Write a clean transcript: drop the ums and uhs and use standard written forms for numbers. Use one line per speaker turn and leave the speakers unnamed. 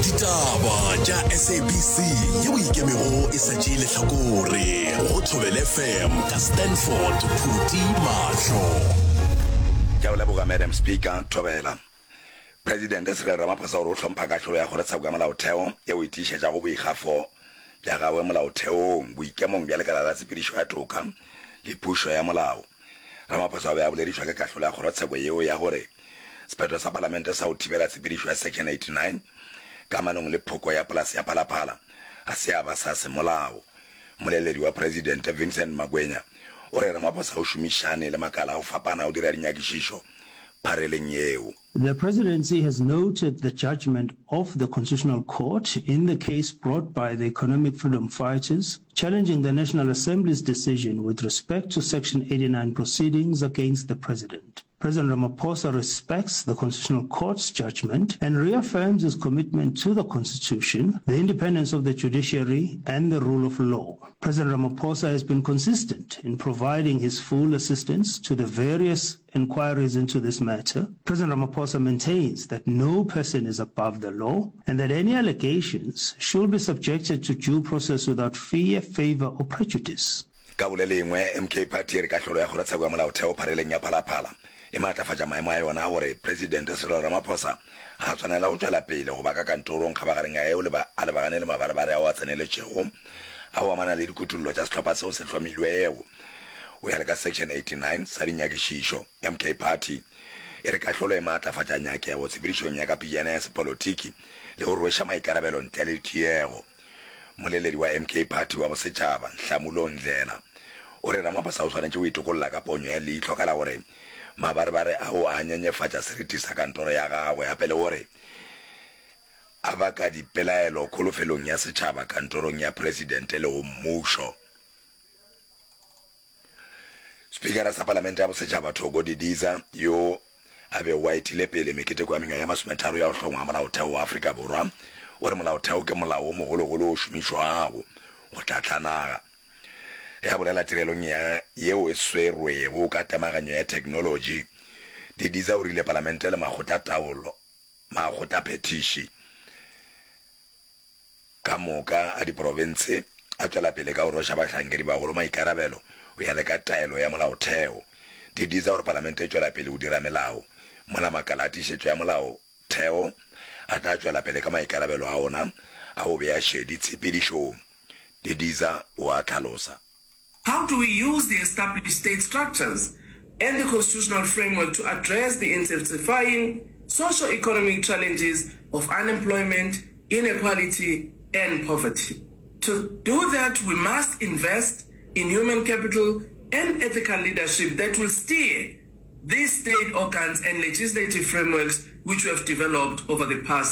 Ditaba tša SABC yeo e ikemego e sa tšee lehlakore go Thobela FM ka Stanford Phuti Mahlo.
Ke a go leboga Madam Speaker. Thobela. Presidente Cyril Ramaphosa o re o hlompha kahlolo ya Kgorotsheko ya Molaotheo yeo e tiišetšago boikgafo bja gagwe molaotheong, boikemong bja lekala la tshepedišo ya toka le pušo ya molao. Ramaphosa o be a boledišwa ke kahlolo ya kgorotsheko yeo ya gore sephetho sa palamente sa go thibela tshepedišo ya Section 89 kamanong le phoko ya polase ya Phalaphala ga se ya ba sa semolao. Mmoleledi wa Presidente Vincent Magwenya o re Ramaphosa o šomišane le makala a go fapana go dira dinyakišišo phareleng yeo.
The presidency has noted the judgment of the Constitutional Court in the case brought by the Economic Freedom Fighters challenging the National Assembly's decision with respect to Section 89 proceedings against the president. President Ramaphosa respects the Constitutional Court's judgment and reaffirms his commitment to the Constitution, the independence of the judiciary and the rule of law. President Ramaphosa has been consistent in providing his full assistance to the various inquiries into this matter. President Ramaphosa maintains that no person is above the law and that any allegations should be subjected to due process without fear, favor or prejudice.
Ka go le lengwe, MK Party e re kahlolo ya Kgorotsheko ya Molaotheo phareleng ya Phalaphala e maatlafatša maemo a yona a gore Presidente Cyril Ramaphosa ga a swanela go tšwela pele go ba ka kantorong kgabagareng ya eo a lebagane le mabarebare ao a tseneletšego a go amana le dikutollo tša sehlopha seo se hlomilwego go ya le ka Section 89 sa dinyakišišo. MK Party e re kahlolo e maatlafatša nyakego tshepedišong ya ka pejana ya sepolotiki le go rweša maikarabelo ntle le tiego. Mmoleledi wa MK Party wa bosetšhaba, Nhlamulo Ndhlela, o re Ramaphosa o swanetše go itokolla ka ponyo ya leihlo ka la gore mabarebare ao a nyenyefatša seriti sa kantoro ya gagwe gape le gore a baka dipelaelo kholofelong ya setšhaba kantorong ya presidente le go mmušo. Spikara sa Palamente ya Bosetšhaba Thoko Didiza, yo a bego a etile pele meketeko ya mengwaga ye masometharo ya go hlongwa ga Molaotheo wa Afrika Borwa, o re Molaotheo ke molao wo mogologolo wo šomišwago go hlahla naga. Ge a bolela tirelong ya yeo e swerwego ka temaganyo ya theknolotši, Didiza o rile Palamente le makgotlataolo, makgotlaphethiši, Ka moka a diprofense a tšwela pele ka go rweša bahlankedibagolo maikarabelo go ya le ka taelo ya molaotheo. Didiza gore Palamente e tšwela pele go dira melao, mola makala a tiišetšo ya molaotheo a tla tšwela pele ka maikarabelo a ona a go bea šedi tshepedišong, Didiza o a hlalosa.
How do we use the established state structures and the constitutional framework to address the intensifying socio-economic challenges of unemployment, inequality and poverty? To do that, we must invest in human capital and ethical leadership that will steer these state organs and legislative frameworks which we have developed over the past.